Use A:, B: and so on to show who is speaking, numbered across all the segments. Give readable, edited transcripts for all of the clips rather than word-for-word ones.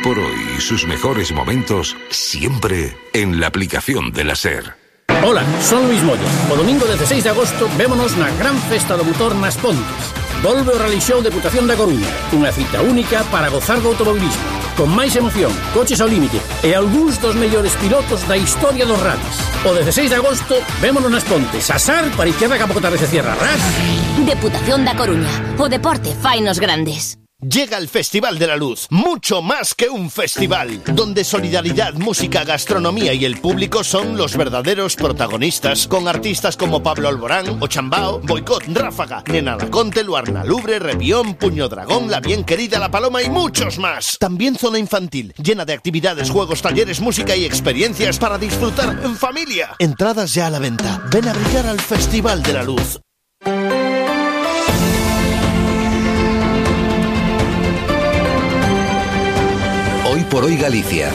A: por hoy y sus mejores momentos siempre en la aplicación de la SER.
B: Ola, son Luis Moya. O domingo 16 de agosto vémonos na gran festa do motor nas Pontes. Volve o Rally Show Deputación da Coruña, unha cita única para gozar do automobilismo, con máis emoción, coches ao límite e algúns dos mellores pilotos da historia dos rallies. O 16 de agosto vémonos nas Pontes, a SAR para izquierda que a pouco tarde se cierra. ¡Ras!
C: Deputación da Coruña, o deporte fainos grandes.
D: Llega el Festival de la Luz, mucho más que un festival, donde solidaridad, música, gastronomía y el público son los verdaderos protagonistas, con artistas como Pablo Alborán, Ochambao, Boicot, Ráfaga, Nena Laconte, Luarna Lubre, Revión, Puño Dragón, La Bien Querida, La Paloma y muchos más. También zona infantil, llena de actividades, juegos, talleres, música y experiencias para disfrutar en familia. Entradas ya a la venta. Ven a brillar al Festival de la Luz.
A: Hoy por hoy Galicia.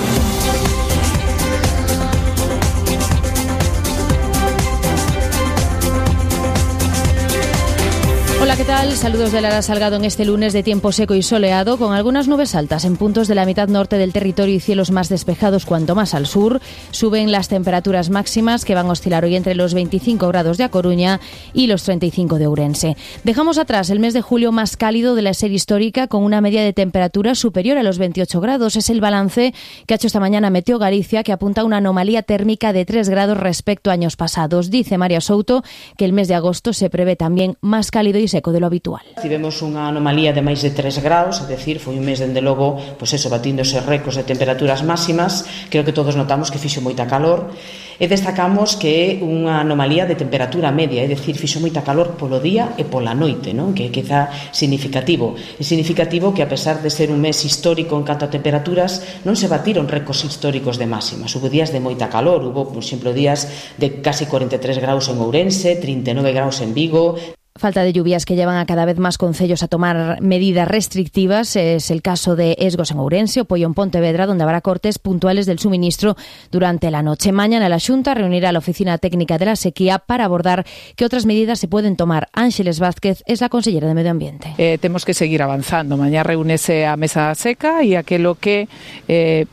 E: Hola, ¿qué tal? Saludos de Lara Salgado en este lunes de tiempo seco y soleado, con algunas nubes altas en puntos de la mitad norte del territorio y cielos más despejados cuanto más al sur. Suben las temperaturas máximas, que van a oscilar hoy entre los 25 grados de A Coruña y los 35 de Ourense. Dejamos atrás el mes de julio más cálido de la serie histórica, con una media de temperatura superior a los 28 grados. Es el balance que ha hecho esta mañana Meteo Galicia, que apunta a una anomalía térmica de 3 grados respecto a años pasados. Dice María Souto que el mes de agosto se prevé tamén máis cálido e seco de lo habitual.
F: Tivemos unha anomalía de máis de 3 graus, é dicir, foi un mes dende logo, pois eso, batíndose récords de temperaturas máximas. Creo que todos notamos que fixo moita calor e destacamos que é unha anomalía de temperatura media, é dicir, fixo moita calor polo día e pola noite, non? Que é quizá significativo. É significativo que a pesar de ser un mes histórico en canto a temperaturas, non se batiron récords históricos de máximas. Hubo días de moita calor, hubo, por exemplo, días de casi 43 graus en Ourense, 39 graus en Vigo.
E: Falta de lluvias que llevan a cada vez más concellos a tomar medidas restrictivas. Es el caso de Esgos en Ourense o Poio en Pontevedra, donde habrá cortes puntuales del suministro durante la noche. Mañana la Xunta reunirá a la Oficina Técnica de la Sequía para abordar qué otras medidas se pueden tomar. Ángeles Vázquez es la consellera de Medio Ambiente.
G: Temos que seguir avanzando. Mañá reúnese a mesa seca e aquilo que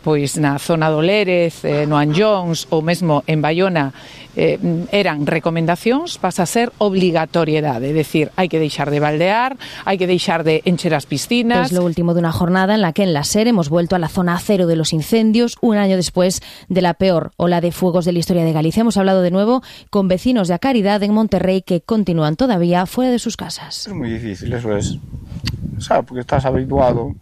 G: pois na zona do Lérez, no Anllóns ou mesmo en Baiona eran recomendacións, pasa a ser obligatoriedade. É dicir, hai que deixar de baldear, hai que deixar de encher as piscinas.
E: Es lo último de una jornada en la que en la SER hemos vuelto a la zona cero de los incendios, un año después de la peor ola de fuegos de la historia de Galicia. Hemos hablado de nuevo con vecinos de A Caridad en Monterrey que continúan todavía fuera de sus casas.
H: Es muy difícil, eso es. ¿Sabes? Porque estás habituado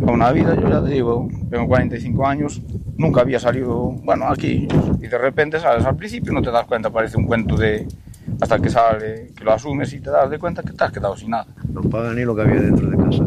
H: a una vida, yo ya te digo, tengo 45 años, nunca había salido, bueno, aquí, y de repente sales al principio, no te das cuenta, parece un cuento de... hasta que sale, que lo asumes y te das de cuenta que te has quedado sin nada.
I: No pagan ni lo que había dentro de casa.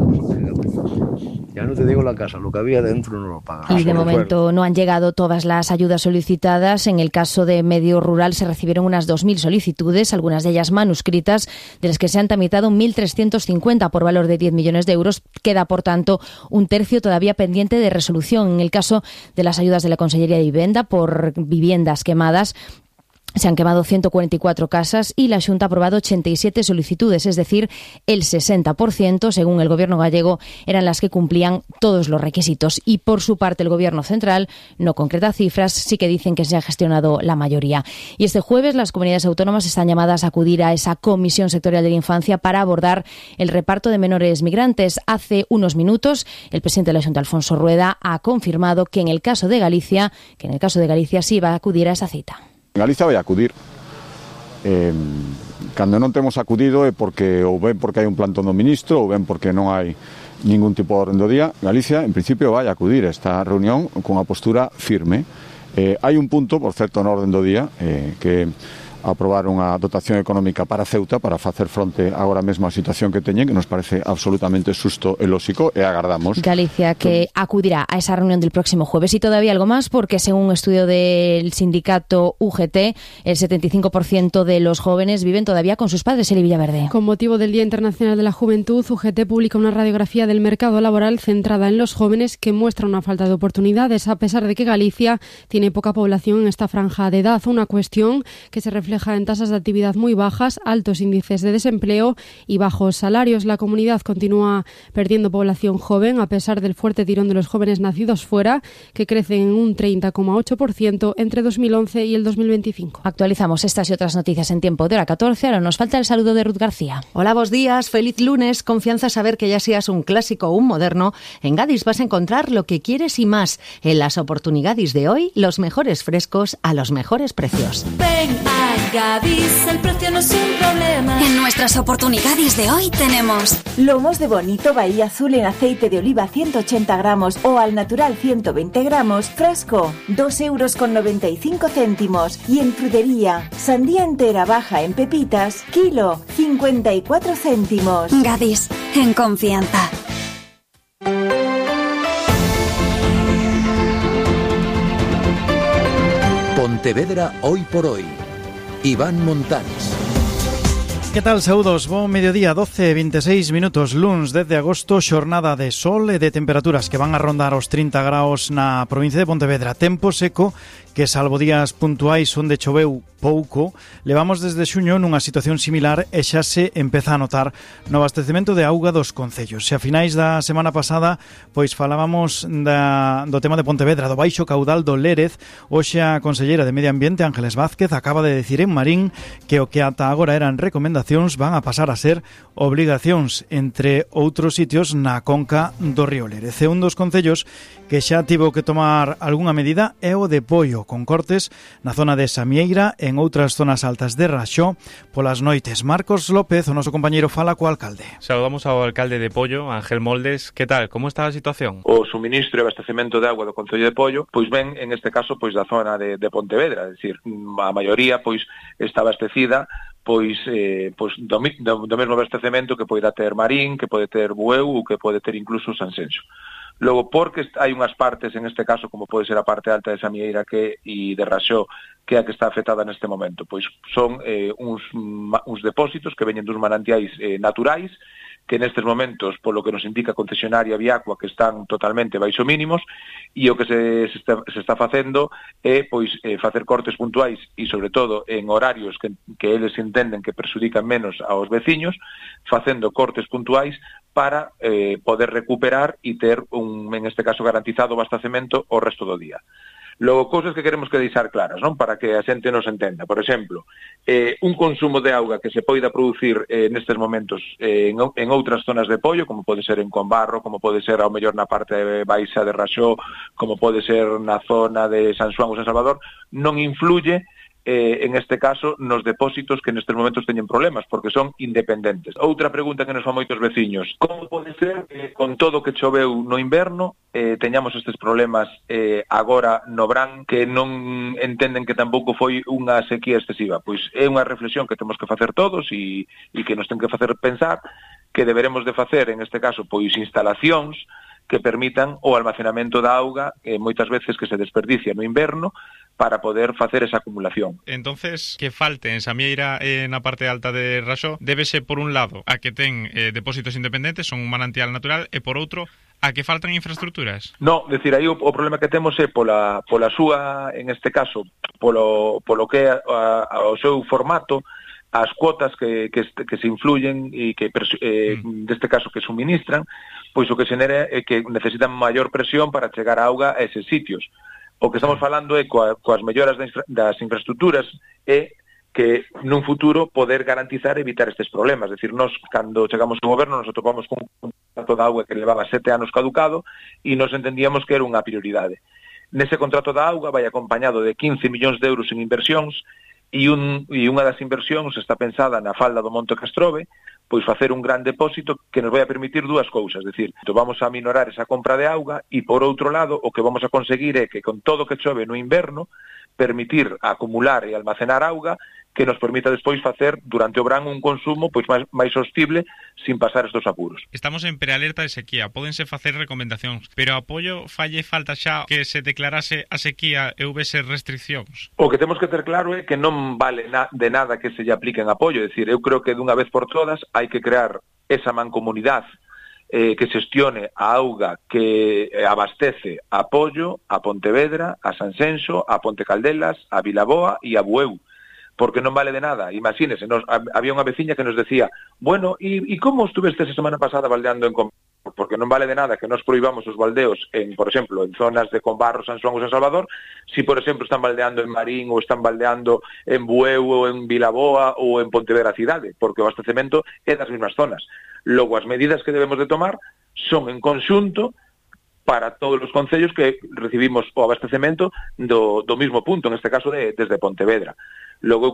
I: Ya no te digo la casa, lo que había dentro no lo pagan.
E: Y de momento no han llegado todas las ayudas solicitadas. En el caso de medio rural se recibieron unas 2.000 solicitudes, algunas de ellas manuscritas, de las que se han tramitado 1.350 por valor de 10 millones de euros. Queda, por tanto, un tercio todavía pendiente de resolución. En el caso de las ayudas de la Consellería de Vivenda por viviendas quemadas, se han quemado 144 casas y la Xunta ha aprobado 87 solicitudes, es decir, el 60%, según el Gobierno gallego, eran las que cumplían todos los requisitos. Y por su parte el Gobierno central no concreta cifras, sí que dicen que se ha gestionado la mayoría. Y este jueves las comunidades autónomas están llamadas a acudir a esa Comisión Sectorial de la Infancia para abordar el reparto de menores migrantes. Hace unos minutos el presidente de la Xunta, Alfonso Rueda, ha confirmado que en el caso de Galicia sí va a acudir a esa cita.
J: Galicia vai acudir. Cando non temos acudido é porque ou ben porque hai un plantón do ministro ou ben porque non hai ningún tipo de orden do día. Galicia, en principio, vai acudir a esta reunión con unha postura firme. Hai un punto, por certo, no orden do día, que aprobar unha dotación económica para Ceuta para facer fronte agora mesmo á situación que teñen, que nos parece absolutamente xusto e lóxico, e agardamos.
E: Galicia que acudirá a esa reunión del próximo jueves. Y todavía algo más, porque según un estudio del sindicato UGT, el 75% de los jóvenes viven todavía con sus padres. Eli Villaverde.
K: Con motivo del Día Internacional de la Juventud, UGT publica una radiografía del mercado laboral centrada en los jóvenes que muestra una falta de oportunidades, a pesar de que Galicia tiene poca población en esta franja de edad, una cuestión que se refleja refleja en tasas de actividad muy bajas, altos índices de desempleo y bajos salarios. La comunidad continúa perdiendo población joven a pesar del fuerte tirón de los jóvenes nacidos fuera, que crecen en un 30,8% entre 2011 y el 2025.
E: Actualizamos estas y otras noticias en tiempo de hora 14. Ahora nos falta el saludo de Ruth García.
L: Hola, buenos días, feliz lunes. Confianza saber que ya seas un clásico o un moderno. En Gadis vas a encontrar lo que quieres y más. En las oportunidades de hoy, los mejores frescos a los mejores precios.
M: Ven a Gadis, el precio no es un problema.
N: En nuestras oportunidades de hoy tenemos
O: lomos de bonito Bahía Azul en aceite de oliva 180 gramos o al natural 120 gramos, fresco, 2,95 €. Y en frutería, sandía entera baja en pepitas, kilo, 54 céntimos.
N: Gadis, en confianza.
P: Pontevedra hoy por hoy. Iván Montanes.
Q: Que tal, saúdos? Bo mediodía, 12:26 minutos, luns 10 de agosto, xornada de sol e de temperaturas que van a rondar os 30 graus na provincia de Pontevedra. Tempo seco que, salvo días puntuais onde choveu pouco, levamos desde xuño nunha situación similar e xa se empeza a notar no abastecemento de auga dos concellos. Se a finais da semana pasada pois falábamos do tema de Pontevedra, do baixo caudal do Lérez, hoxe a conselleira de Medio Ambiente, Ángeles Vázquez, acaba de decir en Marín que o que ata agora eran recomendacións van a pasar a ser obrigacións, entre outros sitios na conca do río Lérez. E un dos concellos que xa tivo que tomar algunha medida é o de Poio, con cortes na zona de Samieira e en outras zonas altas de Raxó polas noites. Marcos López, o noso compañeiro, fala co alcalde.
R: Saludamos ao alcalde de Poio, Ángel Moldes. Que tal? Como está a situación?
S: O suministro e abastecemento de agua do concello de Poio, pois ven, en este caso, pois da zona de Pontevedra, é dicir, a maioría pois está abastecida pois do mesmo abastecemento que poida ter Marín, que pode ter Bueu ou que pode ter incluso Sanxenxo. Logo, porque hai unhas partes, en este caso, como pode ser a parte alta de Samieira e de Raxó, que é a que está afectada neste momento, pois son uns depósitos que veñen dos manantiais naturais, que nestes momentos, polo que nos indica a concesionaria Viacua, que están totalmente baixo mínimos, e o que se está facendo é pois facer cortes puntuais e, sobre todo, en horarios que eles entenden que perxudican menos aos veciños, facendo cortes puntuais para poder recuperar e ter, en este caso, garantizado o abastecemento o resto do día. Logo, cousas que queremos que deixar claras, non? Para que a xente nos entenda. Por exemplo, un consumo de auga que se poida producir nestes momentos en outras zonas de Poio, como pode ser en Combarro, como pode ser ao mellor na parte baixa de Raxó, como pode ser na zona de San Xoán ou San Salvador, non influye en este caso nos depósitos que nestes momentos teñen problemas, porque son independentes. Outra pregunta que nos fan moitos veciños: como pode ser que con todo o que choveu no inverno teñamos estes problemas agora no verán, que non entenden que tampouco foi unha sequía excesiva? Pois é unha reflexión que temos que facer todos e que nos ten que facer pensar que deberemos de facer, en este caso, pois instalacións que permitan o almacenamento da auga, moitas veces que se desperdicia no inverno, para poder facer esa acumulación.
R: Entonces, que falte en Samieira na parte alta de Raxó débese, por un lado, a que ten depósitos independentes, son un manantial natural, e por outro, a que faltan infraestructuras? No, decir, aí o problema que temos é pola súa, en este caso, polo que é o seu formato, as cuotas que se influyen e que, deste caso, que suministran, pois o que xenera é que necesitan maior presión para chegar a auga a eses sitios. O que estamos falando é coas melloras das infraestructuras é que nun futuro poder garantizar e evitar estes problemas. É dicir, nós, cando chegamos ao goberno, nos atopamos con un contrato de auga que levaba 7 anos caducado e nos entendíamos que era unha prioridade. Nese contrato da auga vai acompañado de 15 millóns de euros en inversións e unha das inversións está pensada na falda do Monte Castrove, pois facer un gran depósito que nos vai a permitir dúas cousas, é dicir, vamos a minorar esa compra de auga e, por outro lado, o que vamos a conseguir é que, con todo o que chove no inverno, permitir acumular e almacenar auga que nos permita despois facer durante o verán un consumo pois máis sostible sin pasar estos apuros. Estamos en prealerta de sequía, pódense facer recomendacións, pero apoio falle falta xa que se declarase a sequía e houvese restriccións.
S: O que temos que ter claro é que non vale de nada que se lle apliquen apoio, é dicir, eu creo que dunha vez por todas hai que crear esa mancomunidade que xestione a auga que abastece a Poio, a Pontevedra, a Sanxenxo, a Ponte Caldelas, a Vilaboa e a Bueu. porque non vale de nada. Imagínese, había unha veciña que nos decía, bueno, e como estuveste esa semana pasada baldeando en Combarro? Porque non vale de nada que nos prohibamos os baldeos, por exemplo, en zonas de Combarro, San Xoán ou San Salvador, si, por exemplo, están baldeando en Marín ou están baldeando en Bueu ou en Vilaboa ou en Pontevedra cidade, porque o abastecemento é das mesmas zonas. Logo, as medidas que debemos de tomar son en conxunto para todos os concellos que recibimos o abastecemento do mismo punto, en este caso desde Pontevedra. Logo, eu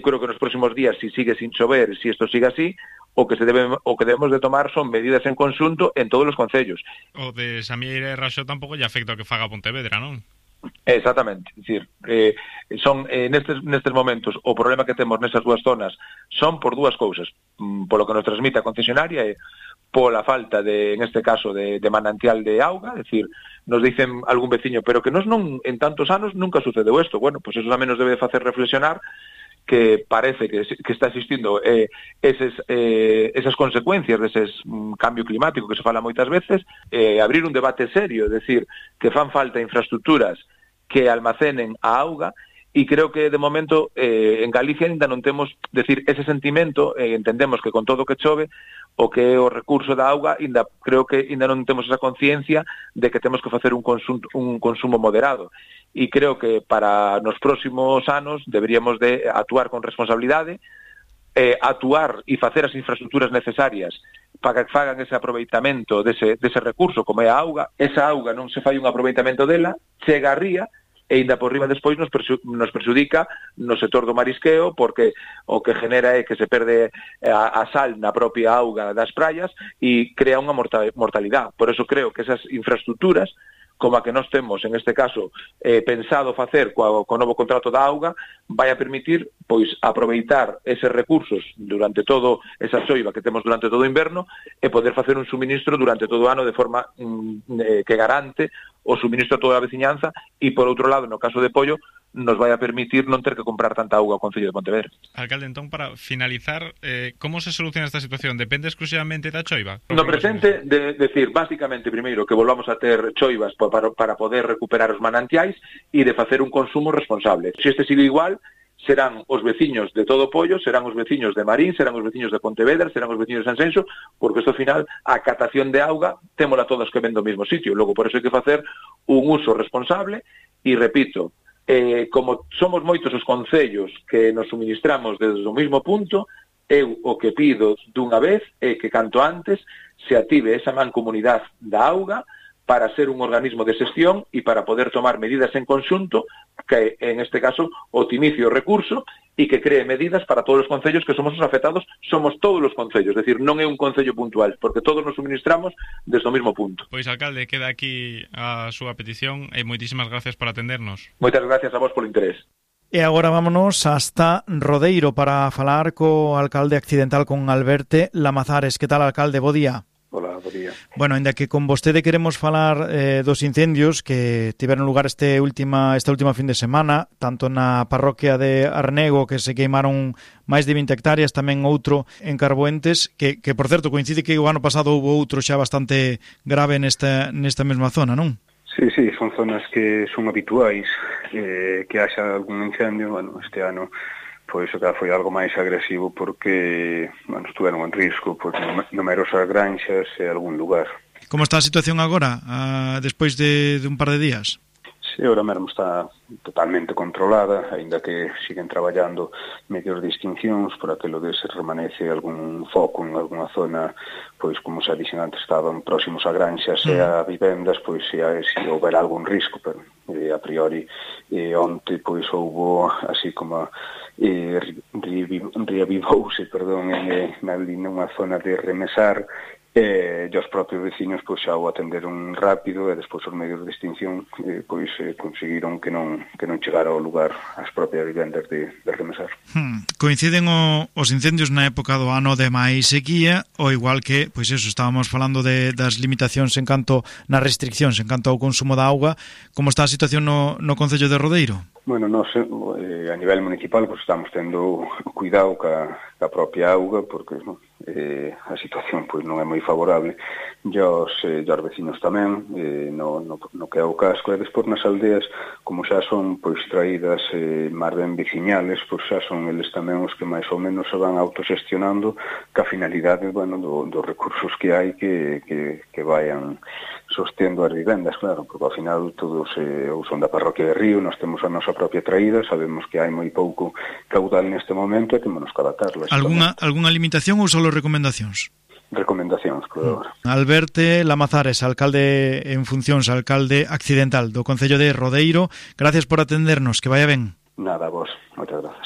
S: creo que nos próximos días, se sigue sin chover, se isto sigue así, o que debemos de tomar son medidas en conxunto en todos os concellos.
R: O de Samieira e Raxó tampouco lle afecta o que faga Pontevedra, non?
S: Exactamente, é dicir, son nestes momentos o problema que temos nesas dúas zonas son por dúas cousas, polo que nos transmite a concesionaria e pola falta en este caso de manantial de auga, é dicir, nos dicen algún veciño, pero que nos non en tantos anos nunca sucedeu isto. Bueno, pois eso tamén nos debe facer reflexionar que parece que está existindo esas consecuencias deses cambio climático que se fala moitas veces, abrir un debate serio, é dicir, que fan falta infraestructuras que almacenen a auga, e creo que de momento en Galicia ainda non temos, decir, ese sentimento, entendemos que con todo o que chove, o que é o recurso da auga, creo que ainda non temos esa conciencia de que temos que facer un consumo moderado. E creo que para nos próximos anos deberíamos de actuar con responsabilidade, actuar e facer as infraestructuras necesarias para que fagan ese aproveitamento dese recurso como é a auga. Esa auga non se fai un aproveitamento dela, chega a ría, e ainda por riba despois nos perxudica no sector do marisqueo, porque o que genera é que se perde a sal na propia auga das praias e crea unha mortalidade. Por eso creo que esas infraestructuras, como a que nós temos, en este caso, pensado facer co novo contrato da auga, vai a permitir pois aproveitar eses recursos durante todo esa xoiva que temos durante todo o inverno e poder facer un suministro durante todo o ano de forma que garante o suministro a toda a veciñanza e, por outro lado, no caso de Pollo, nos vai a permitir non ter que comprar tanta auga ao Concello de Pontevedra.
R: Alcalde, entón, para finalizar, como se soluciona esta situación? Depende exclusivamente da choiva?
S: No presente, decir, básicamente, primeiro, que volvamos a ter choivas para poder recuperar os manantiais e de facer un consumo responsable. Se este sigue igual, serán os veciños de todo Pollo, serán os veciños de Marín, serán os veciños de Pontevedra, serán os veciños de Sanxenxo, porque isto, ao final, a catación de auga témola todos que ven do mesmo sitio. Logo, por eso hai que facer un uso responsable e, repito, como somos moitos os concellos que nos suministramos desde o mesmo punto, eu o que pido dunha vez é que canto antes se active esa mancomunidade da auga para ser un organismo de xestión e para poder tomar medidas en conxunto que, en este caso, optimice o recurso e que cree medidas para todos os concellos que somos os afectados, somos todos os concellos, é dicir, non é un concello puntual, porque todos nos suministramos desde o mesmo punto.
R: Pois, alcalde, queda aquí a súa petición e moitísimas gracias por atendernos.
S: Moitas gracias a vos polo interés.
Q: E agora vámonos hasta Rodeiro para falar co alcalde accidental, con Alberto Lamazares. Que tal, alcalde? Bo día.
T: Hola, bo día.
Q: Bueno, ainda que con vostede queremos falar dos incendios que tiveron lugar esta última fin de semana, tanto na parroquia de Arnego, que se queimaron máis de 20 hectáreas, tamén outro en Carboentes, que por certo coincide que o ano pasado houve outro xa bastante grave nesta mesma zona, non?
T: Sí, son zonas que son habituais que haxa algún incendio. Bueno, este ano pois o que foi algo máis agresivo porque, bueno, estuveron en risco pois numerosas granxas e algún lugar.
Q: Como está a situación agora, despois de un par de días?
T: Sí, ahora mesmo está totalmente controlada, aínda que siguen traballando medios de extincións por aquilo de se remanece algún foco en algunha zona, pois como xa dixen antes, estaban próximos a granxas e a vivendas, pois se houber algún risco, pero a priori onte pois houbo así como reavivouse, nunha zona de remesar, e os propios veciños pois xa o atenderon rápido e despois os medios de extinción pois conseguiron que non chegara ao lugar as propias vivendas de remesar.
Q: Coinciden os incendios na época do ano de máis sequía, ou igual que, pois eso, estábamos falando das limitacións en canto nas restriccións, en canto ao consumo da auga. Como está a situación no Concello de Rodeiro?
T: Bueno, nós a nivel municipal pois estamos tendo cuidado ca propia auga, porque a situación pois non é moi favorable, e os veciños tamén, no que é o casco, e despois nas aldeas, como xa son pois traídas máis ben veciñales, pois xa son eles tamén os que máis ou menos se van autoxestionando ca finalidade, bueno, dos recursos que hai que vayan sostendo as vivendas, claro, porque ao final todos son da parroquia de Río, nós temos a nosa propia traída, sabemos que hai moi pouco caudal neste momento e temos que adaptarlo.
Q: Alguna limitación ou só recomendacións?
T: Recomendacións, claro.
Q: Alberto Lamazares, alcalde en funcións, alcalde accidental do Concello de Rodeiro, gracias por atendernos, que vaya ben.
T: Nada, vos, moitas grazas.